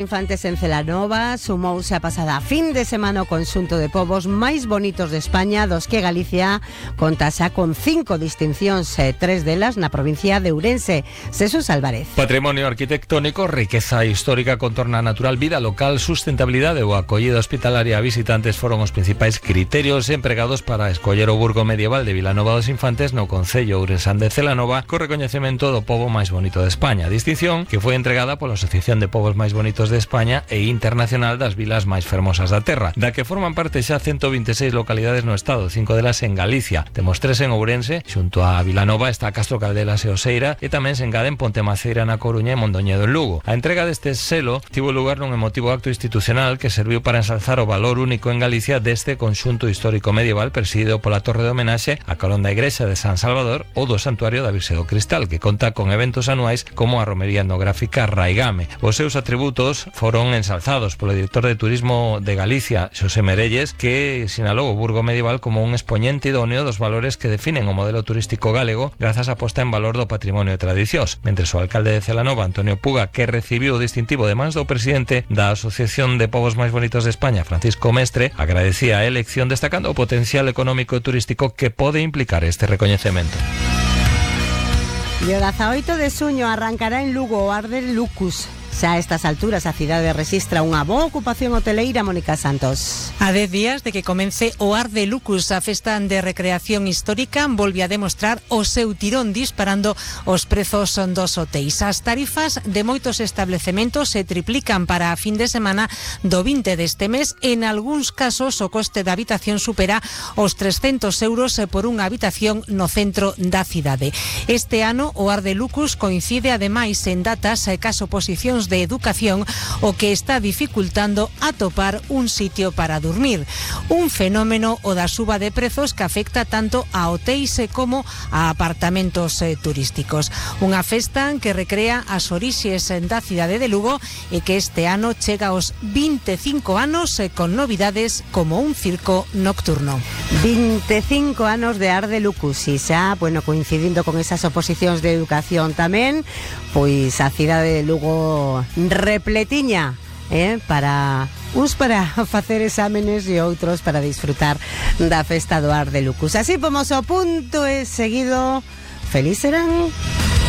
Infantes en Celanova sumouse a pasada fin de semana o conxunto de povos máis bonitos de España, dos que Galicia conta xa con 5 distincións, 3 delas na provincia de Ourense. Jesús Álvarez. Patrimonio arquitectónico, riqueza histórica, contorna natural, vida local, sustentabilidade ou acollida hospitalaria a visitantes foron os principais criterios empregados para escoller o burgo medieval de Vilanova dos Infantes no concello ourensán de Celanova co recoñecemento do pobo máis bonito de España, distinción que foi entregada pola Asociación de Povos Máis Bonitos de España e internacional das vilas máis fermosas da terra, da que forman parte xa 126 localidades no estado, 5 delas en Galicia. Temos 3 en Ourense, xunto a Vilanova está Castro Caldelas e Oseira, e tamén se engaden Pontemaceira na Coruña e Mondoñedo en Lugo. A entrega deste selo tivo lugar nun emotivo acto institucional que serviu para ensalzar o valor único en Galicia deste conxunto histórico medieval presidido pola Torre de Homenaxe a carón da Igrexa de San Salvador ou do Santuario da Virxe do Cristal, que conta con eventos anuais como a romería etnográfica Raigame. Os seus atributos foron ensalzados polo director de Turismo de Galicia, Xosé Merelles, que sinalou o burgo medieval como un expoñente idóneo dos valores que definen o modelo turístico galego grazas á posta en valor do patrimonio e tradicións. Mentres o alcalde de Celanova, Antonio Puga, que recibiu o distintivo de mans do presidente da Asociación de Povos Máis Bonitos de España, Francisco Mestre, agradecía a elección destacando o potencial económico e turístico que pode implicar este recoñecemento. E o 18 de xuño arrancará en Lugo o Arde Lucus. Xa a estas alturas a cidade rexistra unha boa ocupación hoteleira, Mónica Santos. A 10 días de que comence o Arde Lucus, a festa de recreación histórica, volve a demostrar o seu tirón disparando os prezos dos hotéis. As tarifas de moitos establecementos se triplican para a fin de semana do 20 deste mes. En algúns casos o coste da habitación supera os 300 euros por unha habitación no centro da cidade. Este ano o Arde Lucus coincide ademais en datas cas oposicións de educación, o que está dificultando atopar un sitio para dormir. Un fenómeno o da suba de prezos que afecta tanto a hotéis como a apartamentos turísticos. Unha festa que recrea as orixes da cidade de Lugo e que este ano chega aos 25 anos con novidades como un circo nocturno. 25 anos de Arde Lucus e xa, coincidindo con esas oposicións de educación tamén, pois a cidade de Lugo repletiña, para facer exámenes e outros para disfrutar da festa do Arde Lucus. Así pomos o punto e seguido. Feliz serán.